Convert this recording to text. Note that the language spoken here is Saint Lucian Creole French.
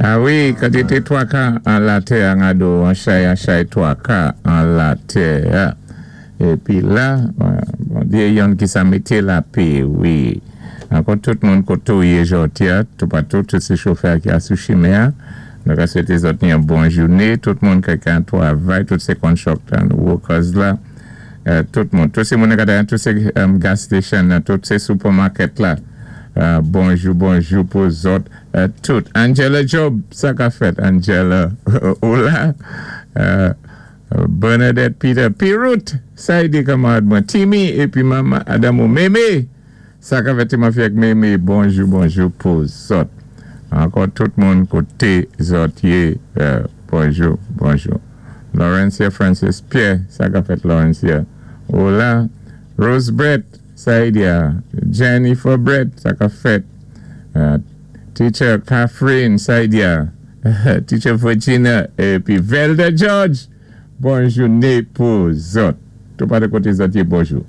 A wi, kantité twaka an latè an gado an chay an chay twaka an latè a. Épi la, Bondyé yonn ki sa mété lapé, wi. Ankò tout moun koté ou yé jòdi-a, toupatou, tout sé chofè ki a sou chimen-an, nou ka swété zòt ni yon bon jouné, tout moun ki an twavay, tout sé construction workers la, tout moun, tout sé moun ka tout sé gas station nan, tout sé supermarket la, bonjou, bonjou pou zòt tout. Angela Job, sa ka fèt, Angela, ou la? Bernadette Peter, Pirut, sa i di kanmarad mwen, Timmy, épi Mama Adamo, Mémé, sa ka fèt ti fi ak Mémé, bonjou, bonjou pou zòt. Ankò tout moun koté zòt yé, bonjou, bonjou. Laurencia Francis Pierre, sa ka fèt, Laurencia? Ou la? Rose Brett, sa i di a? Jennifer Brett, sa ka fèt? Teacher Catherine, sa i di a? Teacher Virginia, épi Velda George, bonjouné pou zòt. Tout pa de koté zòt yé, bonjou.